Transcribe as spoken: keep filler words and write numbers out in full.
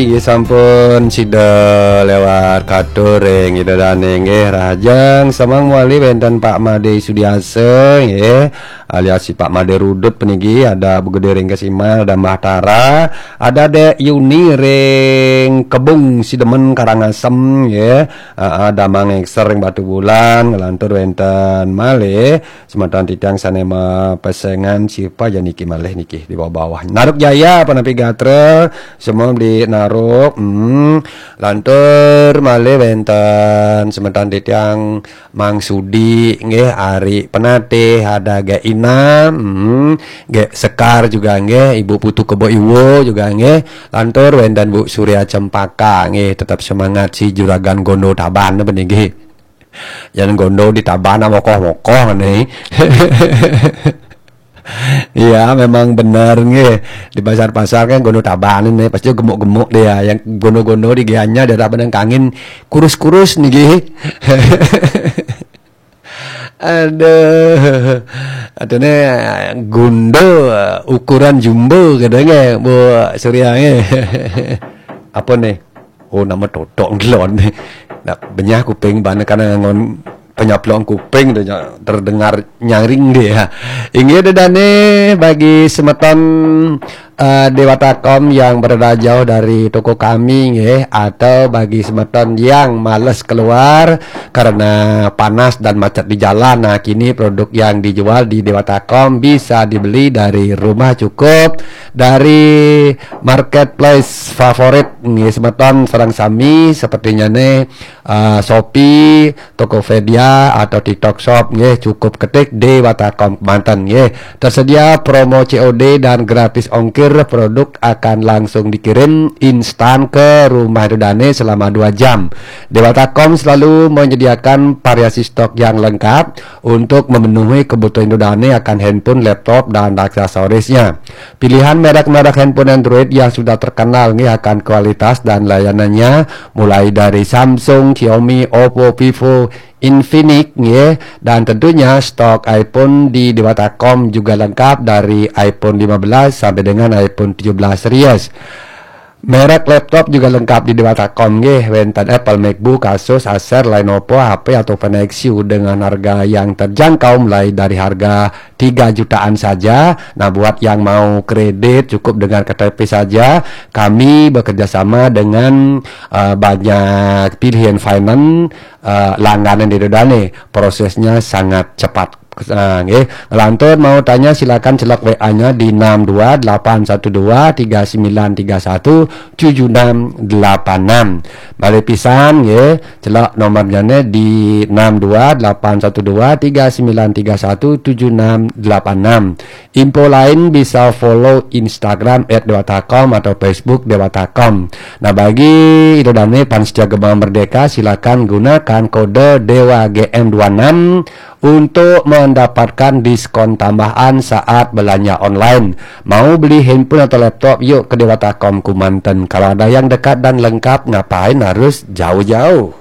Inggih sampun sida lewat katur ring Ida Dane nggih, rahajeng semeng mawali wenten Pak Made Sudiasa nggih, alias si Pak Made Rudut puniki, ada Bu Gede ring Kesimal, ada Mbah Tara, ada Dek Yuni ring Kebung Sidemen Karangasem nggih. Heeh, ada Mang Ekser ring Batubulan, ngelantur wenten malih semeton titiang sane mapesengan siapa ya niki malih niki di bawah-bawah. Naruk Jaya, Panapi Gatra, semua di Naruk. Hmm. Lantur malih wenten semeton titiang Mang Sudi nggih, Ari Penatih, ada Gek Ina, hmm, Gek Sekar juga nggih, Ibu Putu Kebo Iwo juga nggih. Lantur wenten Bu Surya Cempaka nggih, tetap semangat si Juragan Gondo Taban napa nggih. Jangan gondo di Taban mokoh-mokoh nih. Iya, memang benar nggih. Di pasar-pasar kan gondo Taban ini pasti gemuk-gemuk dia. Yang gondo-gondo di Gianyar daerah Padang Kangin kurus-kurus nih nggih. Aduh. Atune gundo ukuran jumbo katanya Bu Surya nggih. Apa nih? Oh, nama totok ngelon. Nak benyah kuping bana karena ngangon penyaplong kuping tu nya terdengar nyaring dia. Inggih dedane bagi semeton eh, Dewata Kom yang berada jauh dari toko kami nggih, atau bagi semeton yang males keluar karena panas dan macet di jalan. Nah, kini produk yang dijual di Dewata Kom bisa dibeli dari rumah cukup dari marketplace favorit nggih semeton sareng sami sepertinya nih eh, Shopee, Tokopedia atau TikTok Shop nggih, cukup ketik Dewata Kom Kemanten nggih. Tersedia promo C O D dan gratis ongkir, produk akan langsung dikirim instan ke rumah Ida Dane selama dua jam. Dewata Kom selalu menyediakan variasi stok yang lengkap untuk memenuhi kebutuhan Ida Dane akan handphone, laptop, dan aksesorisnya. Pilihan merek-merek handphone Android yang sudah terkenal nggih akan kualitas dan layanannya, mulai dari Samsung, Xiaomi, Oppo, Vivo, Infinix nggih, dan tentunya stok iPhone di Dewata Kom juga lengkap dari iPhone lima belas sampai dengan iPhone tujuh belas series. Merek laptop juga lengkap di Dewata Kom nggih, wenten Apple MacBook, Asus, Acer, Lenovo, H P atau Nexus dengan harga yang terjangkau mulai dari harga tiga jutaan saja. Nah, buat yang mau kredit cukup dengan K T P saja. Kami bekerja sama dengan eh, banyak pilihan finance eh, langganan di Ida Dane. Prosesnya sangat cepat. Ah, nggih. Ngelantur mau tanya silakan celok W A-nya di enam dua delapan satu dua tiga sembilan tiga satu tujuh enam delapan enam. Balik pisan nggih, celok nomornya di enam dua delapan satu dua tiga sembilan tiga satu tujuh enam delapan enam. Info lain bisa follow Instagram at dewata com atau Facebook Dewata Com. Nah, bagi Ida Dane fans setia Gema Merdeka, silakan gunakan kode Dewa G M dua enam untuk mendapatkan diskon tambahan saat belanja online. Mau beli handphone atau laptop, yuk ke Dewata Com Kemanten. Kalau ada yang dekat dan lengkap, ngapain harus jauh-jauh?